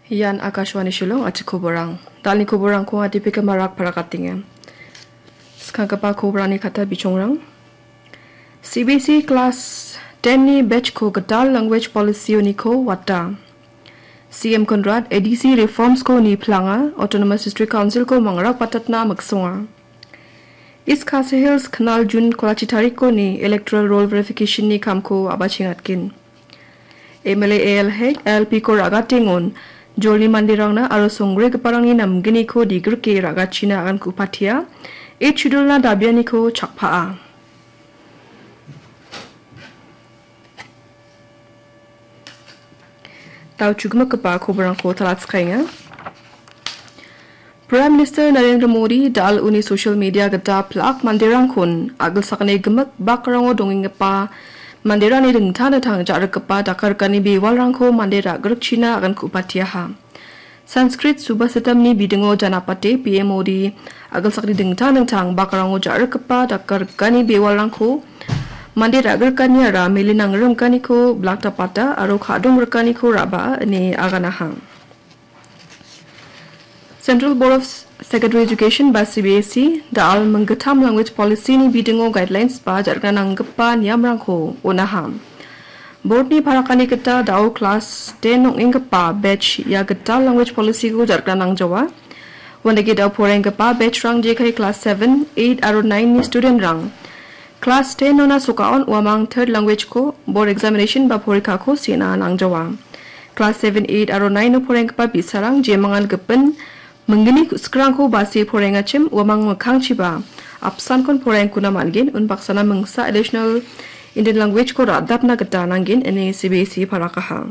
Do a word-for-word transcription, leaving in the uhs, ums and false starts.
Ian Akashvani Shillong, atikoborang. Dalni koborangko atipikamarak parakatenga. Skanggipa koborani kata bichongrang. C B S E Class ten ni batch ko gital language policy uniko wata. C M Conrad A D C reforms ko ni planga, Autonomous District Council ko mangrak patatna miksonga. East Khasi Hills Khnal June kolachi tariko ni electoral roll verification ni kamko abachengatgen. M L A A L Hek, L P ko ragatengon, jolni manderangna aro songgregiparangni namgniko digrike ragachina agankupatia, Eighth Schedule na dabianiko chakpaa. Dao chugimikgipa koborangko talatskaenga. Prime Minister Narendra Modi dal uni social media gita plak manderangkon agilsakni gimik bakrango dongenggipa manderangni dingtang dingtang ja·rikgipa dakarikani bewalrangko mande ra·grikchina agankupateaha. Sanskrit Subhasitamni bidingo janapate P M Modi agilsakni dingtang dingtang bakrango ja·rikgipa dakarikani bewalrangko mande ra·grikaniara mele nangrimganiko blaktapata aro ka·dongrikaniko ra·baa ine aganaha. Central Board of Secondary Education ba C B S E dal minggittam language policy ni bidingo guidelines ba ja·rikna nanggipa niamrangko onaha. Board ni parakani gita dao class ten ong·enggipa batch ia gital language policy ko ja·rikna nangjawa. Uandake dao poraienggipa batch rang jekai class seven, eight aro nine ni student rang class ten ona sokaon uamang third language ko board examination ba porikako sena nangjawa. Class seven, eight aro nine o poraienggipa bi·sarang jemangan gipin minggni ku·sikrangko base poraiengachim uamang mikkangchiba apsankon poraiengkuna man·gen, unbaksana mingsa additional Indian language ko ra·dapna gita nanggen ine C B S E parakaha.